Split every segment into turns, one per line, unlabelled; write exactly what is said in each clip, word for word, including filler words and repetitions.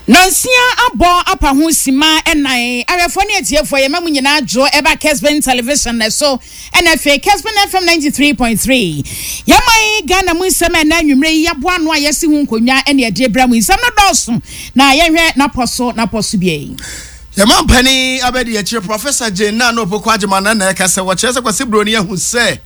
Nansia abɔ apa ho sima ɛnan. Awɛfoɔ ne atiefoɔ, yɛma mu nyinaa dwo ɛba Kesben Television na so ɛna afei Kesben F M ninety-three point three. Yɛman Ghana mu nsɛm a ɛna anwummerɛ yi yɛaboa ano a yɛsi ho nkonnwa ɛne ɛde brɛ mu. Nsɛm no dɔɔso na yɛhwɛ n'apɔ so n'apɔ so bia yi.
Yɛma mpani abɛdi akyire, Professor Jane Naana Opoku Agyemang na na ɛka sɛ wɔkyerɛ sɛ Kwasi Buroni ahu sɛ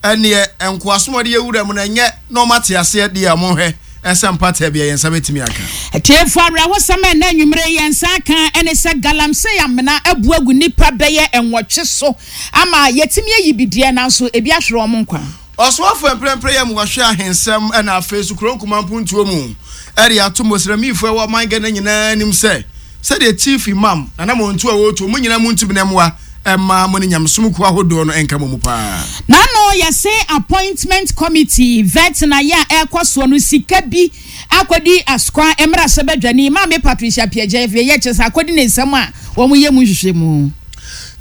ɛneɛ nkoasom a ɔde yɛwura mu no ɛnyɛ na ɔma te aseɛ deɛ, ɔmo hwɛ ɛsɛ mpata bi a yɛn nsa bɛtumi aka.
Atiefoɔ, awerɛhosɛm a ɛna anwummerɛ yɛn nsa aka ɛne sɛ galamsey amena abu agu nnipa bɛyɛ nwɔtwe so ama yɛtumi ayi bideɛ, nanso ebi ahwere wɔn nkwa.
Ɔsoafoɔ mprɛmprɛ yɛ mu wɔhwɛ ahensɛm ɛna afei so kuro nkuma mpuntuo mu ɛde ato mosramifoɔ ɛwɔ ɔman Ghana nyinaa anim sɛ sɛdeɛ Chief Imam Nana Montu a wɔretu mu nyinaa mu ntumi na mmoa ɛma mo ne nyamesom kuo ahodoɔ no ɛnka mo mu paa.
N'ano yɛse appointment committee vet na yɛ a ɛrekɔ soɔ no, sika bi akɔdi asokwa mmerɛ sɛ bɛdwani Maame Patricia Piagya afei yɛ kyerɛ sɛ akɔdi ne nsɛm a wɔn yɛ mu nhwehwɛ mu.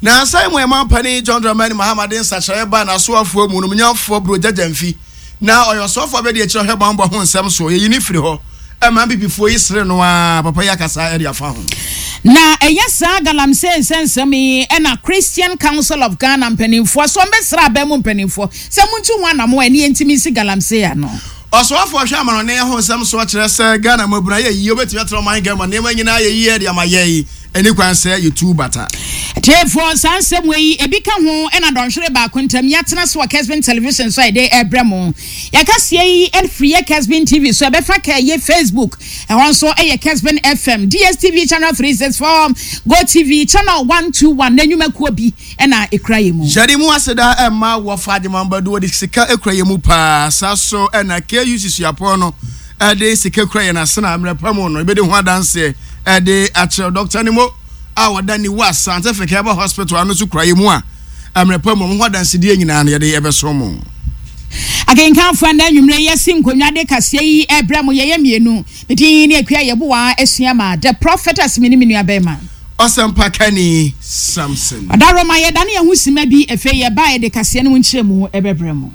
Na asan mu ɛma mpanin John Dramani Mahama de nsakyerɛ ba n'asoafoɔ mu no, munyafoɔ Buro Gyagya na ɔyɛ ɔsoafoɔ bɛde akyerɛ hwɛ bambɔ ho nsɛm so, yɛyi ne firi hɔ ɛma mbibifoɔ yi sere no a papa yi akasa ɛde afa ho.
Na ɛyɛ saa galamsey nsɛnsɛm yi ɛna Christian Council of Ghana mpanimfoɔ so ɔmbɛsra abɛn mu mpanimfoɔ sɛ muntu ho anamo a ɛne yɛntumi nsi galamsey ano.
Ɔsoafoɔ hwɛ amanɔne ho nsɛm so kyerɛ sɛ Ghana mmabunu ayɛ yie, wobɛtumi atena ɔman Ghana nneɛma nyinaa yɛ yie de ama yɛ yi, ɛni kwan sɛ yɛtu bata.
Tiefoɔ, saa nsɛm wɔ yi ebi ka ho ɛna dɔnhwere baako ntam yɛatena so wɔ Kesben Television so a yɛde ɛbrɛ mo. Yɛkaseɛ yi ɛfiri yɛ Kesben T V so, ɛbɛfa ka ɛyɛ Facebook, ɛhɔ nso ɛyɛ Kesben F M, D S T V channel three six four, Go T V channel one two one na nnwumakuo bi ɛna ɛkura yɛ mu.
Yɛde mu aseda ɛma wɔfa Agyemambadu, wɔde sika ekura yɛ mu paa. Saa so ɛna K U Suapɔn no ɛde sika kura yɛn asena mmerɛ pa mu no, ebɛdi ho adanseɛ ɛde akyerɛ Dɔkta Nimo a wɔda ne wa Scientific Herbal Hospital ano so kura yɛ mu a mmerɛ pa mu ɔmo ho adansedie nyinaa no yɛde ɛbɛso mo.
Akenkanfoɔ, na anwummerɛ yɛsi nkonnwa de kaseɛ yi ɛbrɛ mo, yɛyɛ mmienu. Medin ne Akua Yɛboa asua ma the prophetess, me ne me nua bɛrima.
Ɔsɛmpakani Samson.
Ɔdaroma, yɛdane yɛn ho sima bi, afei yɛba yɛde kaseɛ no mu nkyerɛ mu ɛbɛbrɛ mu.